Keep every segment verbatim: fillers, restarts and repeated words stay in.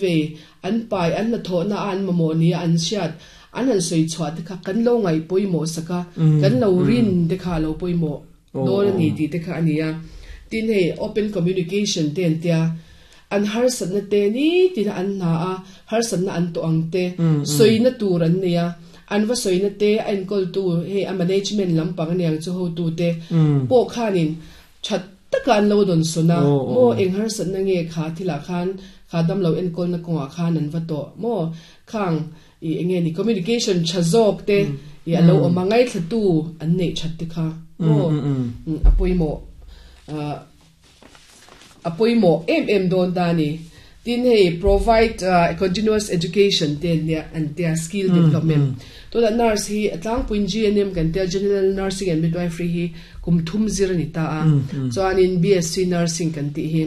Ve an pai an hnathawhna a an mamawh nia an hriat an han sawi chhuah te kha kan lo ngaih pawimawh sak a, kan lo rin te kha a lo pawimawh dawn a ni tih te kha a ni a. Tin hei open communication te an tia, an harsatna te nitin a an hna a, harsatna an tawh ang te sawina tur an nei a, an va sawina te a enkawltu hei a management lampang aniang chu hotu te pawh khanin that taka an lo dawn sawn a, maw eng harsatna nge kha thilah khan kha damlo enkawlna kawngah khan an va tawh maw khang i enge ni communication tha zawk te i a lo awm a ngaithlatu an neih that te kha maw a pawimawh a pawimawh em em dawn ta a ni. Tin hei provide continuous education te an nia an tia skill development tunah nurse hi a tlangpuiin G N M kan tia General Nursing and Midwifery hi kum thum zir a ni ta a chuanin B S C Nursing kan tih hi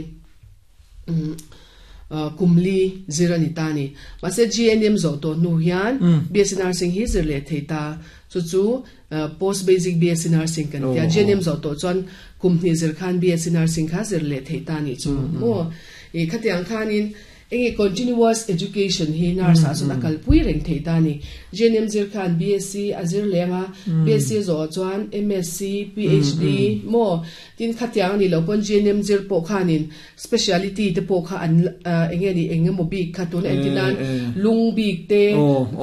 kum li zir a ni ta a ni mahse G N M zawh tawh hnu hian B S C Nursing hi zir leh thei ta chu chu post basic B S C Nursing kan tia G N M zawh tawh chuan kum hnih zir khan B S C Nursing kha zir leh thei ta a nih chu maw. I khatiang khanin enge continuous education hi nurse ah chuan a kalpui reng thei ta a ni. G N M zir khan B S C a zir leng a, B S C zawh chuan M S C, P H D maw tin khatiang a nih loh pawn G N M zir pawh khanin speciality te pawh kha an enge ni eng emaw bik kha tuna entir nan lung bik te,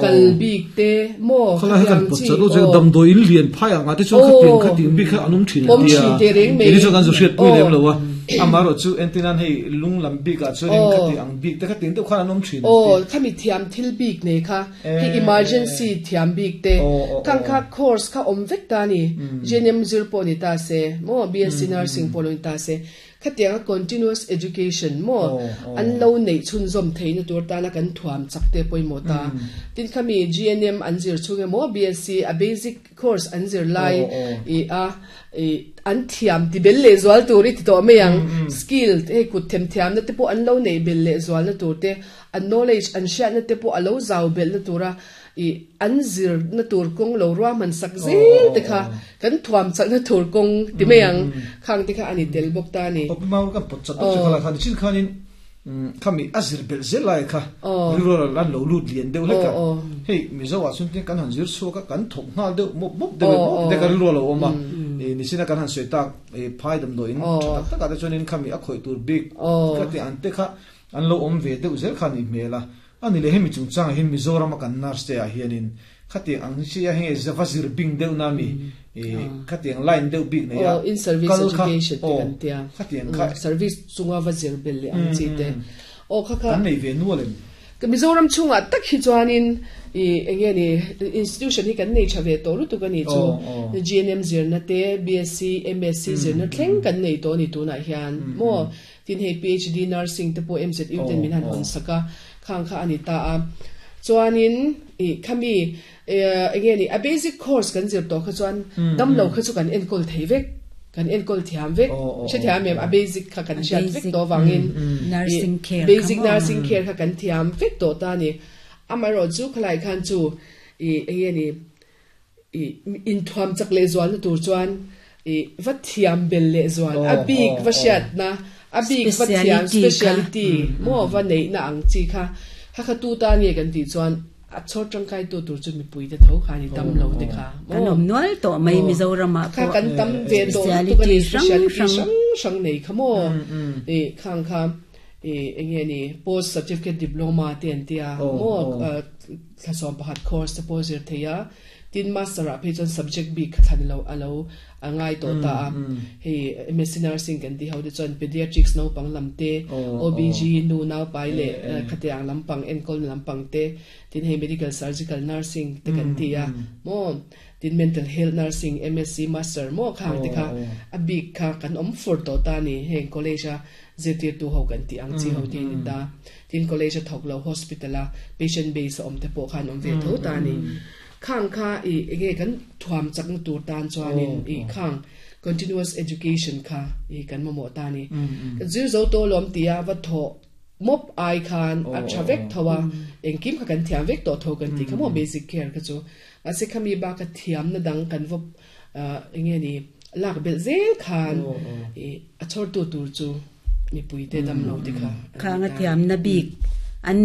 kal bik te maw khatiang chi aw. Damdawi in lian phai ang ah te chuan khatiang khatiang bik kha an awm thin an tia. Kei chu kan zu hriat pui lem lo a. Amaherawh chu entir nan hei lung lam bik ah chuanin khati ang bik te khatiang deuh khan an awm thin an ti. Aw, khami thiam thil bik nei kha, hei emergency thiam bik te, khang kha course kha awm vek ta a ni. G N M zir pawh ni ta se maw, B S C Nursing pawh lo ni ta se, khatianga continuous education maw an lo neih chhunzawm theihna tur tana kan thuam chak te pawimawh ta. Tin khami G N M an zir chhung emaw B S C a basic course an zir lai i a i an thiam ti bel leh zual tur i ti tawh mai ang. Skill hei kut them thiamna te pawh an lo neih bel leh zualna tur te, an knowledge an hriatna te pawh a lo zau belhna tura i an zirna tur kawng lo ruahman sak zel te kha kan thuam chakna tur kawng ti mai ang. Khang te kha a ni tel bawk ta a ni. Awpi mau kan pawt chat bawk che kha la khan chin khanin khami a zir belh zel lai kha rilru an lo lut lian deuh hlek a. Hei Mizo ah chuan kan han zir chhuak a kan thawk nghal deuh mawp mawp deuh mawp deuh a rilru a lo awm a. Nichina kan han sawi tak phai damdawi in tha tak takah te chuanin khami a khawih tur bik kha te an te kha an lo awm ve deuh zel kha a nih hmel a. Ani leh hemi chungchangah hian Mizoram a kan nurse te ah hianin khatiang ang chi a heng va zir bing deuh na mi khatiang line deuh bik nei a in service kal kha education te aw kan tia khatiang kha service chunga va zir bel leh ang chi te aw kha kha kan nei ve nual em. Ka Mizoram chungah tak hi chuanin i enge ni institution hi kan nei tha ve tawh lutuk a ni chu G N M zirna te B S C M S C zirna thleng kan nei tawh a ni tunah hian maw tin hei P H D nursing te pawh M Z U ten min han hawn sak a khang kha a ni ta a chuanin i khami enge ni a basic course kan zir tawh kha chuan damlo kha chu kan enkawl thei vek kan enkawl thiam vek hrethiam em a basic kha kan hriat vek tawh avangin nursing care basic nursing care kha kan thiam vek tawh ta a ni amaherawh chu khalai khan chu i enge ni i inthuam chak leh zualna tur chuan i va thiam bel leh zual a bik va hriatna a bik va thiam speciality maw va neihna ang chi kha kha kha tu ta nge kan tih chuan a chhawr tangkai tu tur chu mipui te tho kha ni tam lo te kha kan awm nual tawh mai Mizoram ah kha kan tam ve tawh lutuk a ni speciality hrang hrang nei kha maw i khang kha i enge ni post certificate diploma te an tia maw thlasawm pakhat course te pawh zir thei a tin master ah phei chuan subject bik kha thlan lo a lo a ngai tawh ta a hei M S C nursing kan ti ho te chuan pediatrics naupang lam te O B G nu naupai leh khatiang lampang enkawlna lampang te tin hei medical surgical nursing te kan ti a maw tin mental health nursing M S C master maw khang te kha a bik kha kan awm fur tawh ta a ni heng college a zirtirtu ho kan tih ang chi ho te ni ta tin college a thawk lo hospital a patient base a awm te pawh khan awm ve tho ta a ni. Khang kha i enge kan thuam chakna tur tan chuanin i khang continuous education kha i kan mamawh ta ni. Kan zir zo tawh lawm tia va thawh mawp ai khan a tha vek tho a, engkim kha kan thiam vek tawh tho kan tih kha maw basic care kha chu. Mahse khami baka thiamna dang kan va enge ni lak belh zel khan i a chhawrtu tur chu mipui te dam lo te kha. Khang a thiamna bik